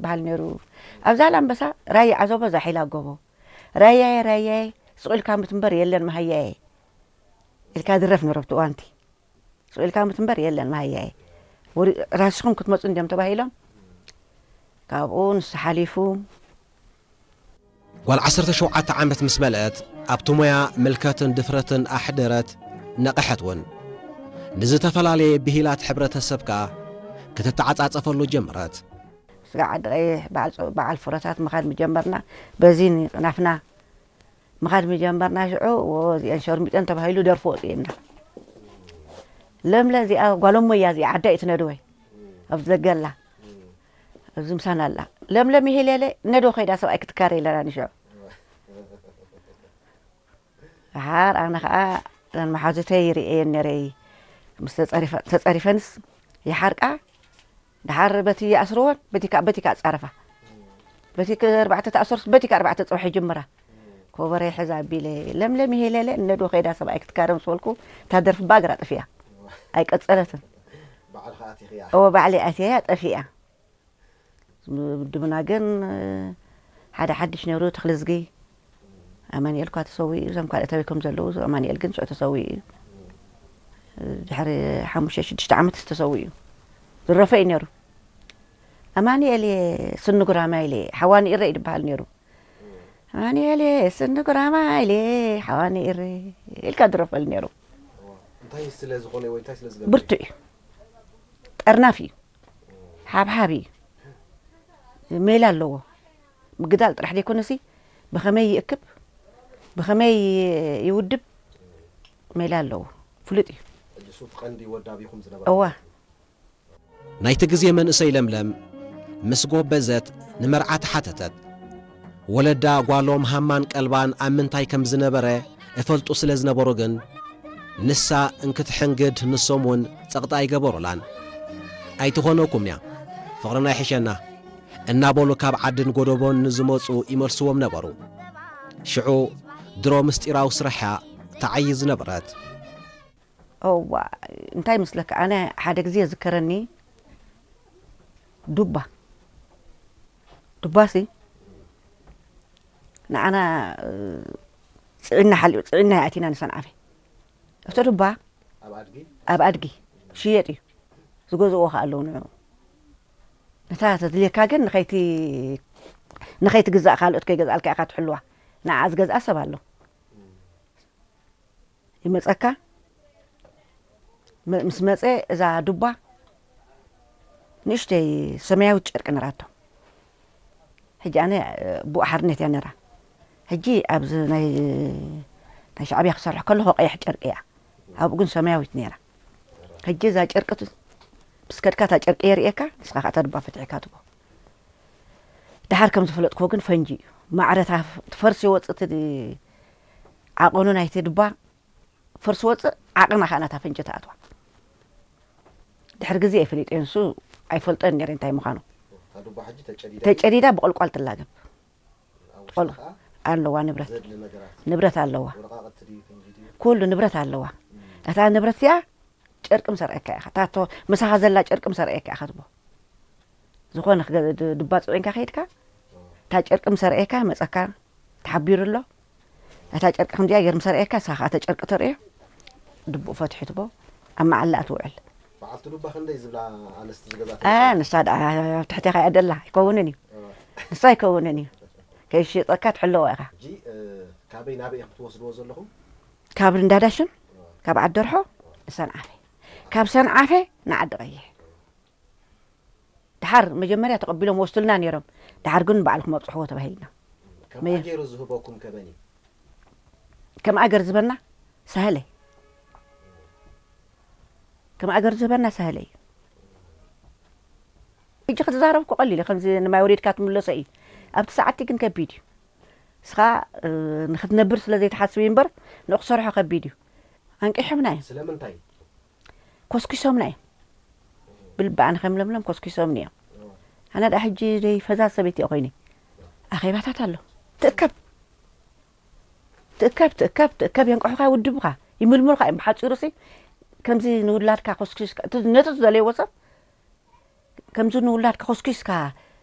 በሃል ነይሩ። ኣብ ዛላምበሳ ራያ ዓዘቦ ዛሒላ ጎቦ፣ ራያየ ራያየ ስቕ ኢልካ ምትንበር የለን መሃያየ ኢልካ ድረፍ ነይሩ ኣብቲ እዋንቲ። ስቕ ኢልካ ምትንበር የለን መሃያየ። ወሪ-፣ ራስኹም ክትመፁ እንዲዮም ተባሂሎም፣ ካብኡ ንሱ ሓሊፉ። ጓል ዓሰርተ ሸውዓተ ዓመት ምስ መልአት ኣብቲ ሞያ ምልከትን ድፍረትን ኣሕደረት፣ ነቐሐት እውን። ንዝተፈላለየ ብሂላት ሕብረተሰብ ከኣ ክትተዓጻጸፈሉ ጀመረት። ስጋዕ ዓዲ ቀይሕ በዓል ጾ-፣ በዓል ፍረታት ምኻድ ምጀመርና። በዚ ናፍና ምኻድ ምጀመርና ሽዑ፣ ወ-፣ እዚአን ሸርሚጠን ተባሂሉ ደርፊ ወፂእና። ለምለ እዚኣ ጓሎሞ እያ፣ እዚኣ ዓዳ እዩ ትነድወይ። ኣብዚ ዘገላ ኣብዚ ምሳና ኣላ። ለምለም ይሄ ሌለ ነዶ ከይዳ ሰብኣይ ክትካረ ኢለና ንሽዑ። ደሓር ኣነ ኸዓ እዘን መሓዙተይ ይርእየን ነይረ። ምስ ተጸሪፈ-፣ ተጸሪፈንስ ይሓርቃ። ደሓር በቲ ይኣስርወን፣ በቲ ከ-፣ በቲ ከኣ ጻረፋ። በቲ ከ-፣ ኣርባዕተ ተኣሰርስ፣ በቲ ከ ኣርባዕተ ጽባሕ ይጅምራ። ኮበረ ይሕዝ ኣቢለ፣ ለምለም ይሄ ሌለ ነዶ ከይዳ ሰብኣይ ክትካረ ምስ በልኩ፣ እታ ደርፊ ብኣግራ ጠፊኣ። ኣይቀጸለትን። ባዕልኻ ኣቲኽያ። እወ፣ ባዕለይ ኣትየያ ጠፊኣ። ውድብና ግን ሓደ ሓድሽ ነይሩ፣ ተኽለዝጊ ኣማኑኤል እኳ ተሰዊኡ፣ እዞም ካልኦት ኣበይ ከም ዘለዉ፣ ኣማኑኤል ግን ሽዑ ተሰዊኡ እዩ። ድሕሪ ሓሙሽተ ሽዱሽተ ዓመት ተሰዊኡ እዩ። ዝረፈ እዩ ነይሩ። ኣማኑኤል እየ ስኒ ጉራማይለ፣ ሓዋኒ ኢረ እዩ ዝበሃል ነይሩ። ኣማኑኤል እየ ስኒ ጉራማይለ፣ ሓዋኒ ኢረ ኢልካ ዝረፈሉ ነይሩ። እንታይ ስለ ዝኾነ ወይ እንታይ ስለ ዝገብር? ብርቱዕ እዩ። ጠርናፍ እዩ። ሓብሓብ እዩ። ሜላ ኣለዎ። ምግዳል ጥራሕ ዘይኮነሲ ብኸመይ ይእክብ፣ ብኸመይ ይውድብ ሜላ ኣለዎ። ፍሉጥ እዩ። ሕጂ እሱ እቲ ቀንዲ ወዳቢኹም ዝነበረ እዋ። ማለት እዩ። ናይቲ ግዜ መንእሰይ ለምለም ምስ ጎበዘት ንመርዓ ተሓተተት። ወለዳ ጓሎም ሃማን ቀልባን ኣብ ምንታይ ከም ዝነበረ እፈልጡ ስለ ዝነበሩ ግን፣ ንሳ እንክትሕንግድ ንሶም እውን ጸቕጢ ኣይገበሩላን። ኣይትኾነኩምን'ያ፣ ፍቕርና ይሕሸና እናበሉ ካብ ዓድን ጎደቦን ንዝመጹ ይመልስዎም ነበሩ። ሽዑ ድሮ ምስጢራዊ ስራሕ'ያ ትዓዪ ዝነበረት። እዋ፣ እንታይ ይመስለካ፣ ኣነ ሓደ ግዜ ዝከረኒ ዱባ፣ ዱባሲ ንዓና፣ እ፣ ጽዒና ሓሊቡ፣ ጽዒና ኣቲና ንሰንዓፈ። እቲ ዱባ ኣብ ኣድጊ? ኣብ ኣድጊ ክሽየጥ እዩ። ዝገዝእዎ ከኣ ኣለዉ ንዕኡ። ነታ ተድልየካ ግን ንኸይቲ-፣ ንኸይትግዛእ ካልኦት ከይገዝኣልካ ኢኻ ትሕልዋ። ንዓ ዝገዝኣ ሰብ ኣሎ። ይመጸካ። መ-፣ ምስ መጸ እዛ ዱባ ንእሽተይ ሰማያዊት ጨርቂ ነራቶ። ሕጂ ኣነ፣ እ፣ ብኡ ሓርነት እያ ነራ። ሕጂ ኣብዚ ናይ፣ ናይ ሻዕብያ ክሰርሕ ከለኹ ቀይሕ ጨርቂ እያ። ኣብኡ ግን ሰማያዊት ነራ። ሕጂ እዛ ጨርቂ ት-፣ ምስ ከድካ እታ ጨርቂ የርእየካ፣ ንስኻ ከኣ እታ ዱባ ፈትሒካ ትቦ። ደሓር ከም ዝፈለጥክዎ ግን ፈንጂ እዩ። ማዕረ እታ ፍ-፣ ትፈርስ ይወጽእ እቲ ዓቐኑ ናይቲ ዱባ ፈርሲ ወፅእ ዓቕና ከዓ ናታ ፈንጂ ተኣትዋ። ድሕሪ ግዜ እየ ፈሊጠ፣ ንሱ ኣይፈልጦን ነይረ እንታይ ምዃኑ። እታ ዱባ ሕጂ ተጨዲዳ ተጨዲዳ ብቆልቋል ትላገብ። ኣብ ውሽጣ ቆል-፣ ከዓ ኣለዋ ንብረት። ዘድሊ ነገራት፣ ንብረት ኣለዋ። ወረቃቅቲ ድዩ፣ ፈንጂ ድዩ? ኩሉ ንብረት ኣለዋ። እም። እታ ንብረት እዚኣ ጨርቂ ምሰርአካ ኢኻ። እታ ቶ-፣ ምሳኻ ዘላ ጨርቂ ምሰርአካ ኢኻ ትቦ። ዝኾነ ክገ-፣ ድ-፣ ድባ ጽዒንካ ከይድካ፣ እታ ጨርቂ ምሰርአካ መጸካ ተሓቢሩ ኣሎ። እታ ጨርቂ ከምዚኣ ገይሩ ምሰርአካ፣ ንስኻ ከኣ እታ ጨርቂ ተርእዮ፣ ድብኡ ፈትሑ ትቦ፣ ኣብ መዓላ ትውዕል። በዓልቲ ዱባ ክንደይ ዝብላ ኣንስቲ ዝገዛ ኣ፣ ተመፅያ? ንሳ ደኣ ኣብ ትሕቴኻ እያ ደላ፣ ኣይከውንን እዩ። እዋ። ንሳ ኣይከውንን እዩ። ከይሽጠካ ትሕለዋ ኢኻ። ሕጂ፣ እ፣ ካበይ ናበይ ኢኹም ትወስድዎ ዘለኹም? ካብ እንዳዳሽን፣ እዋ። ካብ ዓደርሖ፣ እዋ። ንሰንዓፈ። ካብ ሰንዓፈ ንዓዲ ቀይሕ። ደሓር መጀመርያ ተቐቢሎም ወስዱልና ነይሮም። ደሓር ግን ንባዕልኩም ኣብፅሕዎ ተባሂልና። ከምኣ መየ- ገይሩ ዝህበኩም ከመን እዩ? ከም ኣገር ዝበና ሳህለ። ከም ኣገር ዝበና ሳህለ እዩ። ሕጂ ክትዛረብ እኮ ቀሊል እዩ። ከምዚ ንማይ ወሪድካ ትምለሶ እዩ። ኣብቲ ሰዓትቲ ግን ከቢድ እዩ። ንስኻ፣ እ፣ ንኽትነብር ስለ ዘይትሓስብ እዩ እምበር ንኡ ክሰርሖ ከቢድ እዩ። ኣንቂሖምና እዮም። ስለምንታይ? ኮስኪሶምና እዮም። ብልቢ ኣነ ከም ለምለም ኮስኪሶምኒ እዮም። ኣነ ደኣ ሕጂ ደይ ፈዛዝ ሰበይቲ እየ ኮይነ። ኣኼባታት ኣሎ። ትእከብ። ትእከብ፣ ትእከብ፣ ትእከብ፣ የንቅሑኻ፣ ይውድቡኻ፣ ይምልምሉኻ እዮም። ብሓጺሩሲ ከምዚ ንውላድካ ኮስኪስካ፣ እቲ ነቲ ዝደለይዎ ሰብ ከምዚ ንውላድካ ኮስኪስካ